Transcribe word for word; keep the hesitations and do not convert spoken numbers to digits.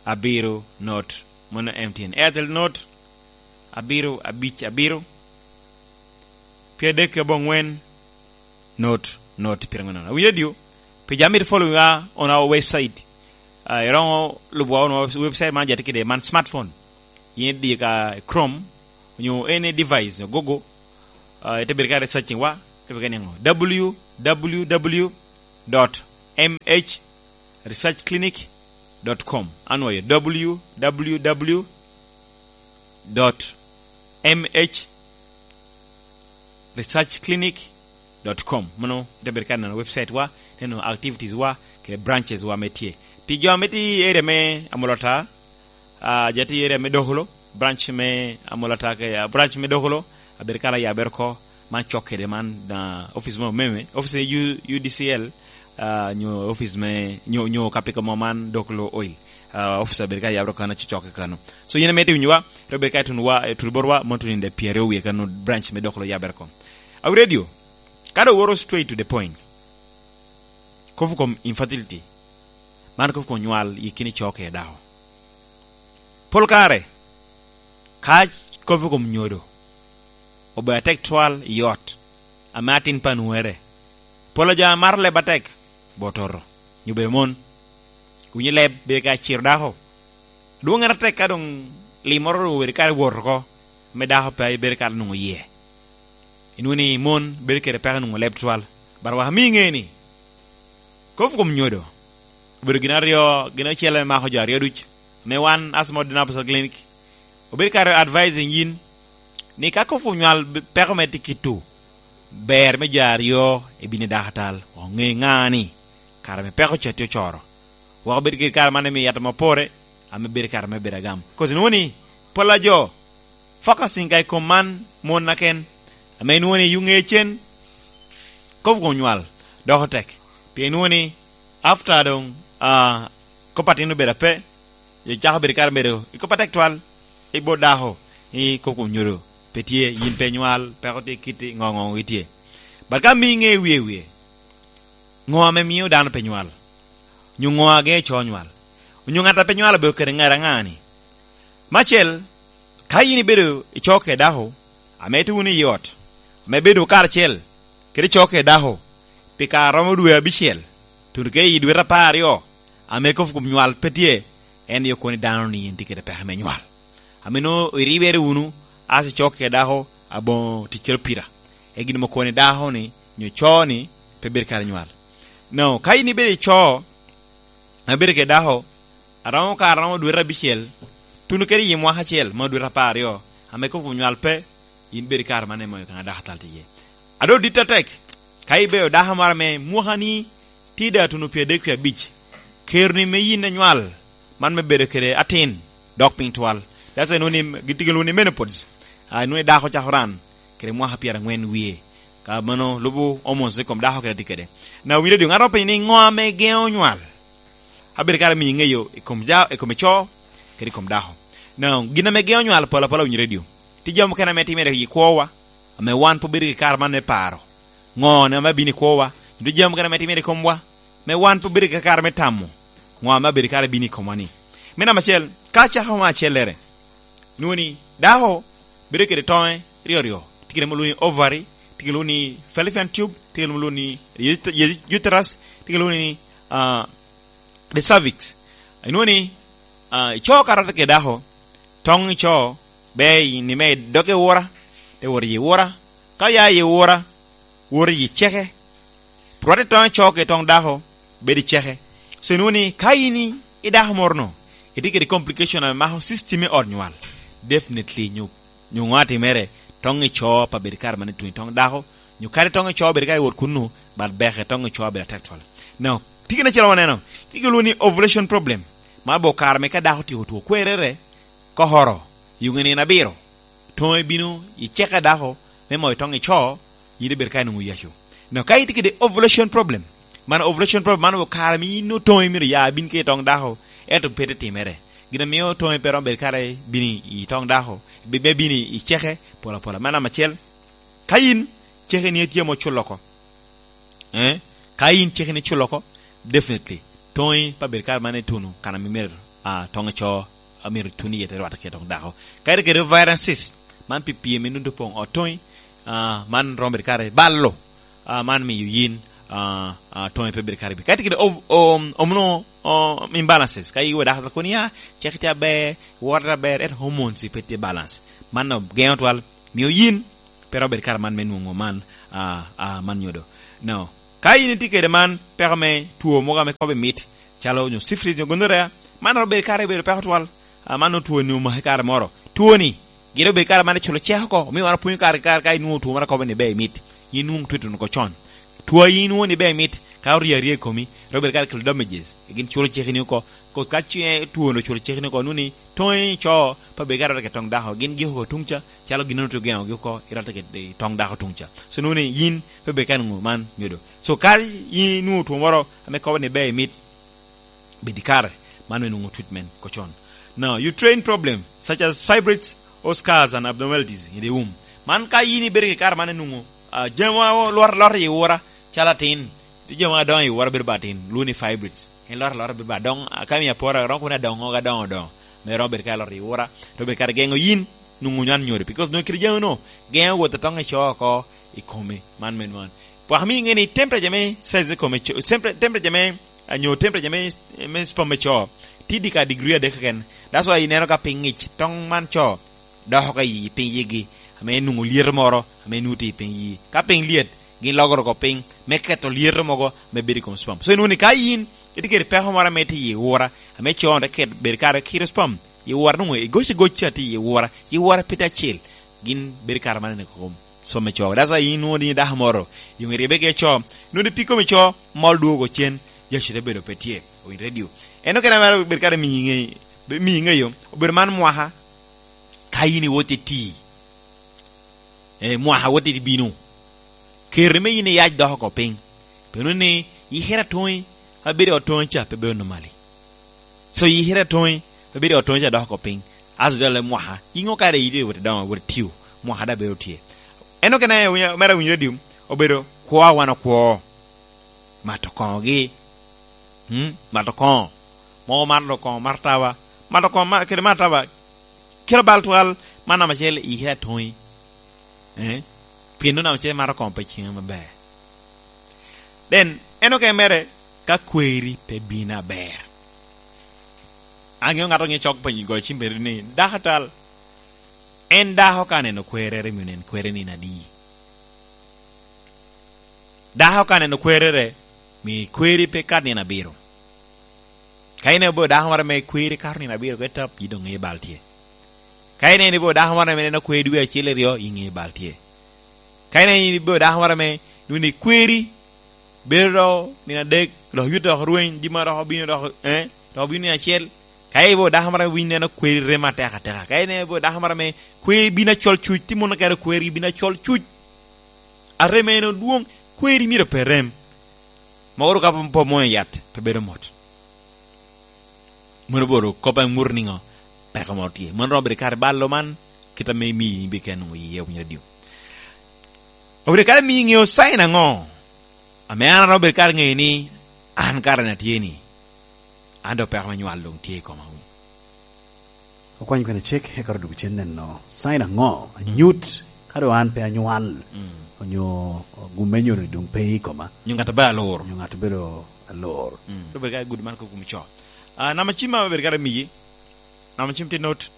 abiro not. Mano M T N. Airtel not, abiro abic abiro, pyadek abongwen, not, not, pyerangwen. Awinyo radio, pi jami to follow wa on our website. Ah, iromo lubo wa on our website man jati kede man smartphone. Yin di ka Chrome, onyo any device, no Google, ah, ite bed ka researching wa, ite bed ka niaŋo. W W W dot M H research clinic dot com. Anwoyo W W W dot M H research clinic dot com. Mano ite bed ka neno website wa, neno activities wa, kede branches wa me tye. Pi jo ame tye i area me Amolata, ah, jo tye i area me Dokolo, branch me Amolata, ke, ah, branch me Dokolo, abedo kara yabere oko, man cok kede man, ah, office mo meme, office U-, U D C L, ah, nyo office me, nyo, nyo kapiko mo man Dokolo Oil. Ah, office abedo ka yabere oko, kan acocok kano. So, yin ame itye winyo wa, ito bedo ka ituno wa, eh, tuno bot wa, mono tuno in the pyeraryo wie kano branch me Dokolo yabere oko. Awi radio, ka do woro straight to the point. Kofu kom infertility. Man kofu kom nywal i kin i co kede dako. Pol kare, ka kofu kom nyodo, obedo atek twal i ot, ame atin pa nwere. Pol a jo a maro leb atek, bototo, nyo bedo mon. Winyo leb, bedo ka ciro dako. Dwongere atek ka doŋ limoro obedo kare wot oko, me dako pe bedo kare nwoŋo yie. Inwoŋo ni mon bedo kede peko nwoŋo leb twal. But wek ami ŋe ni, kofu kom nyodo obedo gin aryo, gin acel ame mako jo aryo duc. Me wan, as Modern Apostle Clinic, obedo kare advising yin ni ka kofu nywal be-, peko me tye kito, ber me jo aryo ibino i dako atal, oŋe ŋa ni kare me peko ca tye ocoro. Wek obed kede kare man ame yat ame opore, ame bedo kare me bedo agam. Cause inwoŋo ni, pol a jo, focusing ka i kom man mon naken, ame inwoŋo ni yuŋe cen, kofu kom nywal, doko tek. Pien inwoŋo ni, after doŋ, ah, kop atin obedo ape, jo cako bedo kare bedo i kop atek twal, i bot dako, i kofu kom nyodo, pe tye, yin pe nywal, peko tye kiti, ŋo ŋo gitye. But ka miŋe wie wie, ŋo ame mio dano pe nywal? Onyo ŋo a geŋo co nywal? Onyo ŋat a pe nywal obedo kede ŋat aŋa ni? Me acel, ka yin ibedo i co kede dako, ame itye wunu i ot, ame ibedo karacel kede co kede dako, pi kare romo dwe abicel, tuno kede i dwe apar aryo, ame kofu kom nywal pe tye, en yo kono i dano ni en tye kede peko me nywal. Ame nwoŋo iribere wunu, aso i co kede dako, aboŋo tic kede opira. E gin ame kono i dako ni, nyo co ni, pe bedo kare nywal. No, ka yin ibedo i co, abedo kede dako, aromo kare, aromo dwete abicel, tuno kede i mwaka acel, ma dwete apar aryo, ame kopo nywal pe, yin bedo i kare man ame kan dako atal tye iye. A doŋ dit atek, ka ibedo dako moro ame mwakani tye daŋ tuno pyeradek pyeradek, keroni me yin anywal, man me bedo kede atin, dok piny twal. That's why inwoŋo ni gitye gilwongo ni menopause. Ah, inwoŋo ni dako cako ran, kede mwaka pyerangwen wie. Ka mano lubo hormones i kom dako kede tye kede. Na winyo dong ŋat openyo ni ŋo ame geŋo nywal? Abedo kare miyo iŋeyo i kom ja-, i kom ico, kede i kom dako. Na gin ame geŋo nywal pol apola winyo redio. Tye jami mukene ame timere i kwowa, ame wan pe obedo i kare man me paro. Ŋo ne ame bino i kwowa? Tye jami mukene ame timere i komwa, me wan pe obedo i kare me tamo. Ŋo ame abedo kare bino i komwa ni? Me namba acel, ka acako me acellere, nwoŋo ni dako bedo kede toŋe ryo ryo. Tye kede mo lwongo ni ovary, tye kede lwongo ni fallopian tube, tye kede mo lwongo ni ut-, uterus, tye kede lwongo ni, ah, the cervix. Inwoŋo ni, ah, ico ka rotte kede dako, toŋ ico, ber i ni me dok i wura, te wot i wura. Ka ya i wura, wot i ceke. Rwatte toŋ ico kede toŋ dako, bedo i ceke. So inwoŋo ni ka in i, i dako moro no, itye kede complication ame mako system me ot nywal, definitely nyo, nyo ŋo atimere, toŋ ico pa bedo kare man ituni toŋ dako, nyo kadi toŋ ico bedo kare wot kunnu, but beke toŋ ico bedo atek twal. Now, tye gin acel waneno, tye gin lwongo ni ovulation problem. Man bo kare me ka dako tyeko two kwerere, kohoro, yuŋe nino abiro, toŋe bino i ceke dako, me moyo toŋ ico, yin ibedo ka inwoŋo yacu. No, ka itye kede ovulation problem, man ovulation problem, man kare ame in nwoŋo toŋi myero ya bin ki i toŋ dako, ento pe te timere. Gin amiyo toŋi pe romo bedo kare bino i toŋ dako, bi-, be bino i ceke, pola pola. Man namba acel, ka in ceke ni etye mo culo oko, eh, ka in ceke ni culo oko, definitely, toŋi pa bedo kare man ituno, kana mi myero ah, toŋ ico, ah, myero tun iye te rwatte kede toŋ dako. Ka itye kede ovarian cyst, man pi pyem i nut opoŋ ot toŋi, ah, man romo bedo kare balo, ah, man miyo yin, ah, ah, toŋi pe bedo kare bi. Ka itye kede ov-, om-, hormonal, oh, imbalances, ka iwe dako kono ya, cek tye aber, woro tye aber, ento hormones pe tye balance. Man ogeŋo twal, miyo yin pe romo bedo kare man me nwoŋo man, ah, ah, man nyodo. No. Ka yin itye kede man, peko me two mogo ame kobo i mit, calo nyo syphilis nyo gonorrhea, man romo bedo kare bedo peko twal. Ah, man nwoŋo twoni omaki kare moro. Twoni, gire obedo kare man iculo cek oko, omio wan opwonyo kare, kare ka inwoŋo two moro akobo ni ber i mit, yin nwoŋo twitino oko con. Two a yin inwoŋo ni ber i mit, ka orye arye i komi, romo bedo kare kelo damages, gin culo cekeni oko. Kot ka ce twoni oculo cekeni oko, nwoŋo ni toŋi co pe bedo kare rote kede toŋ dako, gin giko oko tuŋ ca, calo gin ento ogeŋogi oko, irote kede toŋ dako tuŋ ca. So nwoŋo ni yin pe bedo kare nwoŋo man nyodo. So ka yin inwoŋo two moro ame kobo ni ber i mit, bed i kare man me nwoŋo treatment ko con. Now, uterine problem such as fibroids or scars and abnormalities in the womb. Man ka yin ibedo i kare man inwoŋo, ah, jami ma lworo alota i wora, calo atin, tye jami ma dongo i wora bedo ba atin, lwongo ni fibroids. En lworo alota bedo ba dongo, ah, ka miyo apora, romo kono adongo, adongo, adongo. Me romo bedo ka alota i wora, to bedo kare geŋo yin, nwoŋo nyan nyodo. Because nwoŋo kite jami no, geŋo wot atoŋ i co oko i kome, man me nwan. Pwak mi ŋe ni temperature me size me kome co, sempre-, temperature me, anyo temperature me, me sperm me co, tye dika degree adek keken. That's why ineno ka piny ŋic, toŋ man co, doko ka i piny yigi, ame nwoŋo lyeto moro, ame nwoŋo tye i piny yi. Ka piny lyet, gin logoro oko piny, me keto lyeto mogo, me bedo i kom sperm. So, inwoŋo ni ka yin, itye kede peko moro ame tye i wora, ame co te ket, bedo kare kiro sperm, i wora nwoŋo, igoc igoc ca tye i wora, i wora pete acel, gin bedo kare man i kom sperm me co. That's why yin nwoŋo ni dako moro, i ŋe ribbe ki co, nwoŋo ni piko me co, mol dwogo cen, yaci te bedo pe tye, owinyo radio. En okene mere bedo kare miyi ŋe-, be-, miyi ŋeyo, obedo man mwaka, ka yin iwot iti, eh, mwaka wot iti bino, keri me yin iyac dok oko piny. Pien ni yikere atoŋi, abedo i ot toŋi ca, pe bedo normally. So yikere atoŋi, abedo i ot toŋi ca dok oko piny. Aso jalo mwaka, iŋo kare ite wot idongo, wot itio, mwaka da bedo tye. En okene, winya-, mera winyo radio, obedo kwo a wan okwo. Mato koŋogi. Hmm? Mato koŋo. Mogo mato koŋo, mato taba. Mato koŋo, ma-, kede mato taba. Kelo bal twal, man namba acel i hea toŋi. Eh? Pien nongo namba acel mato koŋo pe ciŋe maber. Then, en okene mere, ka kweri pe bino aber. Aŋeo ŋat oŋe cok penyo goyo cim pire ni, dako atal, en dako ka neno kwerere, mio nen kwere nino adi? Dako ka neno kwerere, mi kweri pe kat nino abiro. Ka in ibedo dako moro ame kweri kato nino abiro, ke tap, yi doŋ ŋe bal tye. Ka in ibedo dako moro ame neno kweri dwe acel aryo, yi ŋe bal tye. Ka in ibedo dako moro ame nwoŋo ni kweri bedo dok nino adek, dok yuto dok rweny, jami dok obino dok, eh, dok obino nino acel. Ka ibedo dako moro ame winyo neno kweri rem atek ateka. Ka in ibedo dako moro ame kweri bino acol cuc, tye mono kare kweri bino acol cuc. Arem en odwoŋ, kweri myero pe rem. Mogo ka pe omwoyo yat, pe bedo mot. Mano obedo kop a ŋuto niŋo? Peko moro tye. Mano romo bedo kare balo man, kit ame imio in bene keken onwoŋo iye owinyo radio. Obedo kare miyo iŋeo sign aŋo? Ame an aromo bedo kare ŋeyo ni an kare na tye ni, an dok peko me nywal doŋ tye i koma. Okwany kwene cik, eka odwogo cen neno sign aŋo, anyut, ka doŋ an pe anywal, mm, onyo gum me nyodi doŋ pe i koma. Nyo ŋat a bedo alur. Nyo ŋat a bedo alur. Mm. Doŋ bedo ka gudi man koko mico. Ah, namba cim ma bedo kare miyi, namba cim tye not,